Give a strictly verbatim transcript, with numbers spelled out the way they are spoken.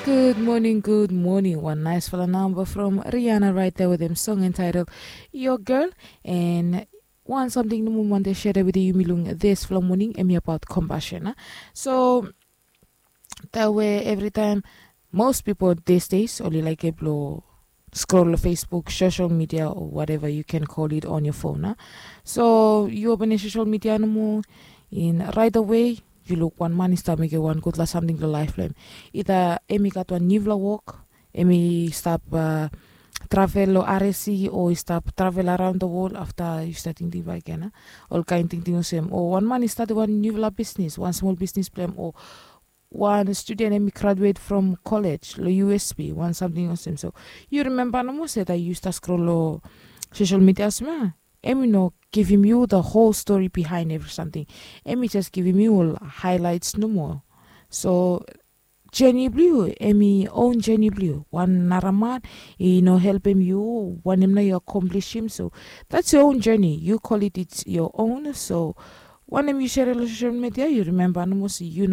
Good morning, good morning. Wan naisfala namba from Rihanna right there with him song entitled Your Girl. And wan samting nomo mi wante sere wetem yumi long disfala moning, hemi abaot compassion. So taem we evritaem most pipol these days oli laekem blong scroll long Facebook, social media, or whatever you can call it, on your phone. So yu openem social media nomo, in right away yu luk wan man i stap mekem wan gudfala samting long laef blong hem. Ida hemi gat wan niufala wok, hemi stap travel long RSC, o i stap travel araon da wol. Afta yu stap tingting bakegen, olkaen tingting olsem, o wan man i statem wan niufala bisnis, wan smol bisnis blong hem, o wan studen hemi graduet from kolej long USP, wan samting olsem. So yu rimemba nomo se taem yu stap scroll long social media olsem ya, hemi no givim yu da hol stori bihaen evri samting. Hemi jes givim yu ol haelaets nomo. So jeni blong yu hemi own jeni blong yu. Wan nara man i no helpem yu, wanem nao yu akomplisim, so that's your own journey, you call it, it's your own. So wanem yu sere long social media, yu rimemba nomo se yu no